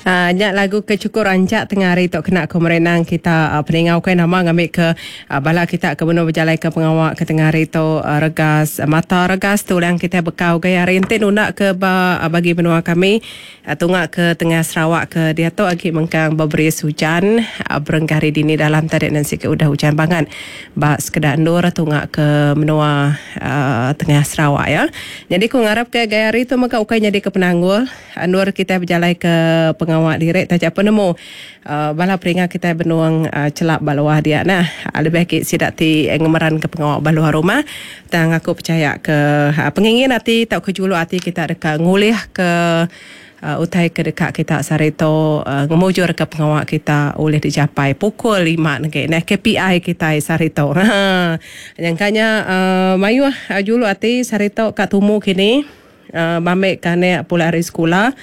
Nya lagu ke chukup rancak tengah hari tu kena ku merenang kita peningau kai nama ngambi ke bala kita ke benung bejalai ke pengawa ke tengah hari tu regas mata regas tulang kitai bekau gaya hari enti nunda ke ba bagi menua kami tunga ke tengah Sarawak ke diatu agi mengkang beberis ujan berengkah hari dini dalam tadi nan sigi udah ujan bangat ba sekeda endur tunga ke menua tengah Sarawak ya. Nyadi ku ngarap ke gaya hari tu mega ukai nyadi ke penanggul. Endur kitai bejalaika pengawa diri taja pun nemu bala peringa kitai benung chelap ba luar dia nah. Lebih agi sida ti ngemeranka pengawa ba luar rumah. Tang aku pechaya ke pengingin ati tauka juluk ati kita deka ngulihka utai ke deka kita sehari tu ngemujurka pengawa kita ulih dijapai pukul lima negi nah KPI kitai sehari tu. Nyangka nya mayuh juluk ati sehari tu ka tumu kini. Bambi ke anak pulai ari sekula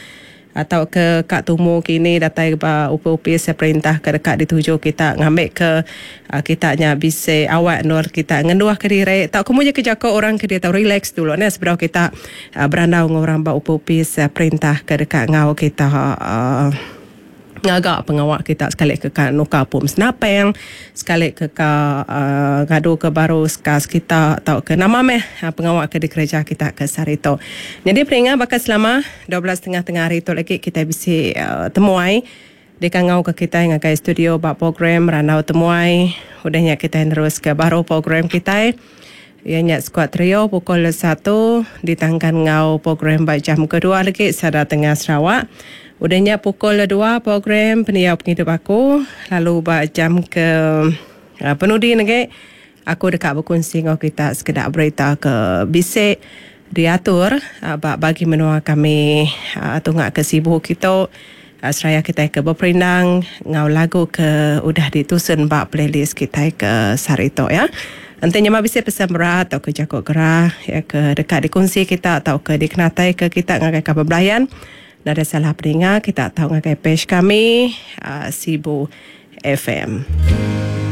tauka ka tumu kini datai ba opis-opis perintah ke deka dituju kita ngambika kita nya bisi awak endur kita ngenduhka diri tauka munyi ke jaku orang ke diatu relax dulu neh sebedau kita berandau enggau orang ba opis-opis perintah ke deka enggau kita. Ngaga pengawa kita sekali ke ka nukar pom senapang, sekali ke ka ngadu ke baru skas kita tauka nama meh pengawa ke dikereja kita ke sehari tu. Nyadi peringa baka selama 12 tengah tengah hari tu lagi kitai bisi temuai dikangau ke kitai ngagai studio ba program Randau Temuai. Udah nya kitai nerus ke baru program kitai iya nya Skuad Trio pukul satu ditangkan enggau program ba jam kedua lagi Sada Tengah Sarawak. Udah nya pukul dua program Pendiau Pengidup Aku lalu ba jam ke penudi negi aku deka bekunsi enggau kita sekeda berita ke bisi diatur ba bagi menua kami tunga ke Sibu kitu seraya kitai ke beperindang enggau lagu ke udah ditusun ba playlist kitai ke sehari tu ya. Enti nyema bisi pesan berat tauka jaku gerah iya ke deka dikunsi kita tauka dikenataika kita ngagai kaban belayan nadai salah peninga kita tau ngagai page kami Sibu FM.